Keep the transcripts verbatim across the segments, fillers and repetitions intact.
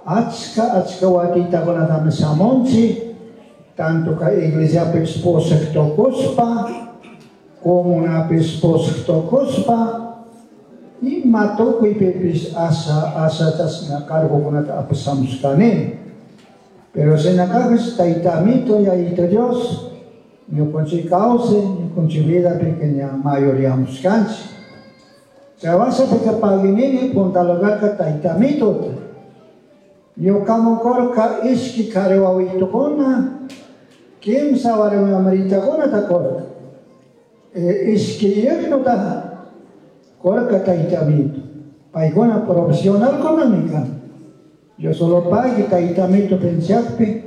Achka achka watitakunatami shamunchik, tanto kay iglesiapi pusaq tukushpa, comunapish pusaq tukushpa, ima tukuypipish asha asha chashna cargokunata apashamushkani. Pero shinakapish Tayta Amito, Yayito Dios, ñukanchik kawsay, ñukanchik vidapi ña mayoreamushkanchik. Chay paginini punta lugarka Tayta Amitota. Ñukaman kurka ishki kari wawitukuna, kimsa warmi wamritakunata kurka. E, ishki yernuta kurka Tayta Amito. Paykuna profesionalkunami kan. Dios solo pagui Tayta Amito pensiakpi,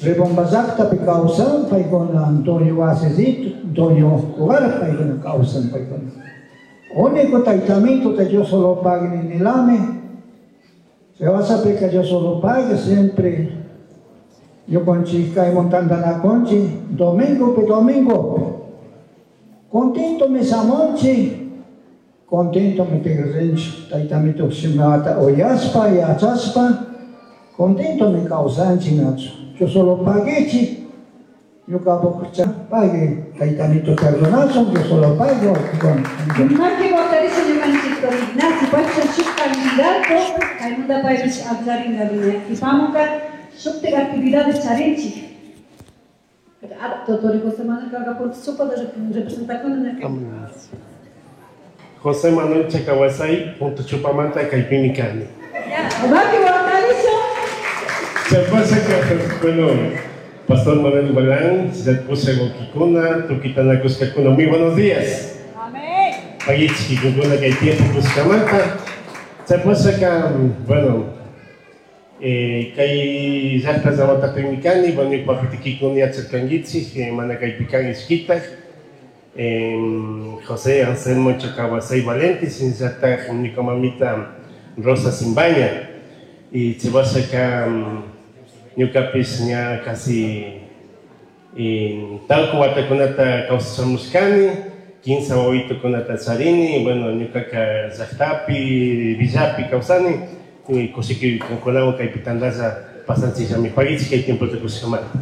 Rebomba llaqtapi kawsan paykuna Antonio Wasisito, Antonio Ugar paykuna kawsan paykuna. Único Tayta Amito te Dios solo pagui ninilami. Se vas a pecar Dios solo pague siempre. Yo con chica y montando la conchi, domingo pe domingo. Contento me samonchi, contento me tigrenchi, Tayta Amito simata oyaspa y achaspa, contento me causanchi nacho. Yo solo paguechi, yo cabo pague, Tayta Amito perdonazo, yo solo pago. Maki votarisha ñukanchik Ignacio, paypish shuk candidato, kaymanta paypish akllarinka Ipamunka shuktik actividades charinchik. Doctor José Manuel Cagapunta Chupa representación. José Manuel Chacahuasay, punto Chupamanta, kaypimi kani. Maki votarisha. Se pasa que, bueno, Pastor Manuel Balán, se puse Gokikuna, Tukitana Kuskakuna, muy buenos días. Amén. Pagichki kukuna kay tiempo kuskamanta. Se pasa que, bueno, eh, kay llaqta llamatapimi kani, bueno, papitikikuna yacharkankichik, mana kaypi kan ishkitaq. Eh, José Anselmo Chacahuasay Valente, shinallataq ñuka mamita Rosa Simbaña. Y se pasa que ñukapish ña casi tawka watakunata kawsashamushkani, kinsa wawitukunata charini, bueno, ñukaka llaqtapi, villapi kawsani, y kushiki kunkunawan kaypi tantalla pasanchikllami. Pagichik kay tiempota kushikamanta.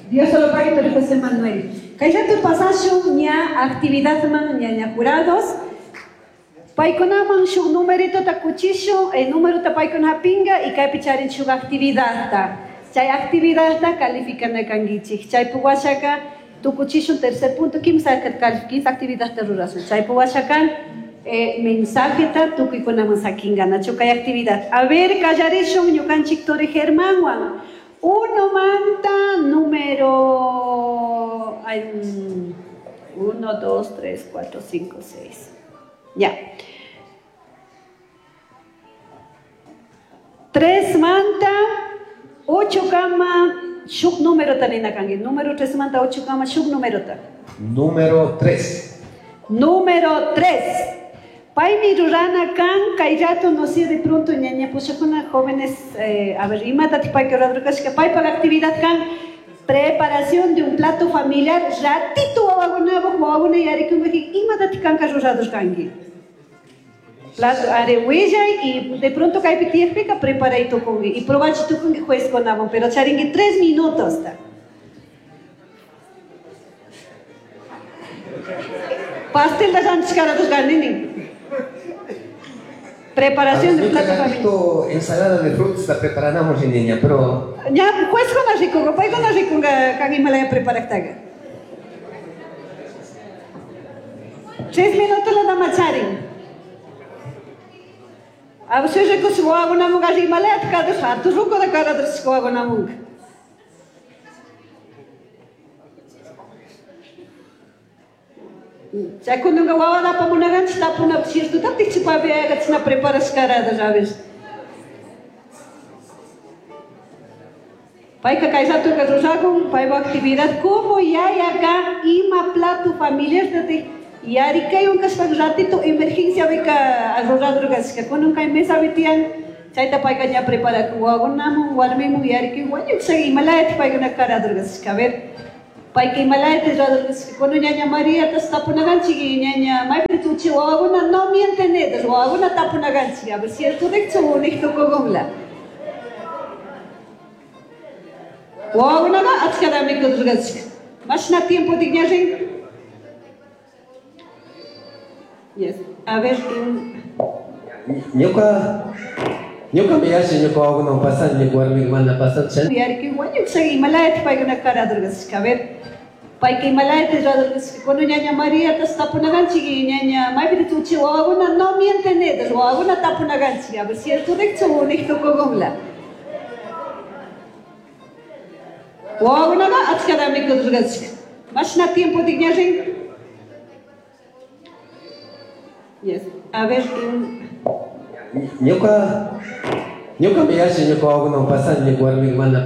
Dios solo pague, pero José Manuel. Kayllapi pasashun ña actividad man ña ña jurados. Paykunaman shuk numerito ta kuchishun, el número ta paykuna hapinga y kaypi charin shuk actividad ta. Chay actividad ta calificana kankichik. Chay puwashaka tukuchishun tercer punto, kimsa kimsa actividad ta rurasun. Chay puwashaka eh, mensaje ta tukuykunaman sakinga nachu kay actividad. A ver, kallarishun ñukanchik Tori Germánwan. Uno manta número ay, uno, dos, tres, cuatro, cinco, seis. Ya. Tres manta, ocho kama, shuk número ta nina kanki. Número tres manta, ocho kama, shuk número ta. Número tres. Número tres. Paymi rurana kan, kay rato no sé de pronto ñaña pushakuna jóvenes, eh, a ver, imata payka ruradurkashka, paypak actividad kan, preparación de un plato familiar, ratito wawakunapuk, wawakuna yarikunki, imata kanka ruradurkanki. Plato are willay y de pronto kaypi tiyakpika preparay tukunki y probachi tukunki juezkunawan, pero charinki tres minutos ta. Pastel da ranchikaratuskanini. Preparación de plato familiar. Ensalada de frutas la preparamos, niña, pero... Ya, juezkuna rikunka, paykuna rikunka kan imalaya preparaktaqa. Tres minutos la dama charin. A ver, rikus wawakunamunka imalaya kadus, hatu ruku da karadus wawakunamunka. Chaykunanka wawa apamunakanchik tapunapi cierto tichipapi chashna preparashkarada, ¿sabes? Payka kay ratoka rurakun, paypa actividad como yayaka ima plato familiar tatik yarikaywan kashpa ratito emergencia bika ruradurkashka kunan kay mesapi tiyan chayta payka ña preparakun wawakunamun warmimun yarikay wañuksha imalayata paykuna karadurkashka. A ver, payka imalayata ruradurkashka kunan ñaña María tas tapunakanchik ñaña maypi uchi wawakuna no mienten wawakuna tapunakanchik a ver cierto dekchu unik tukukunla. Wawakunaqa achkatami kudurqachik. Mashna tiempo tikñarin? Yes. A ver, Ñuka ñuka mi yalli ñuka wawakunawan pasan ñuka warmika mana pasan yarki wañuksha imalayata paykuna karadurqachik. A ver, payka imalayata ruradurqachik. Cuando ñaña María tas tapunakanchik y ñaña maypita uchi wawakuna no mienten wawakuna tapunakanchik. A ver, cierto dekchu unik tukukunla. Wawakunaqa achkatami kudurqachik. Mashna tiempo tikñarin? Yes. A ver, Ñuka ñuka mi yalli ñuka wawakunawan pasan ñuka warmika mana pasan.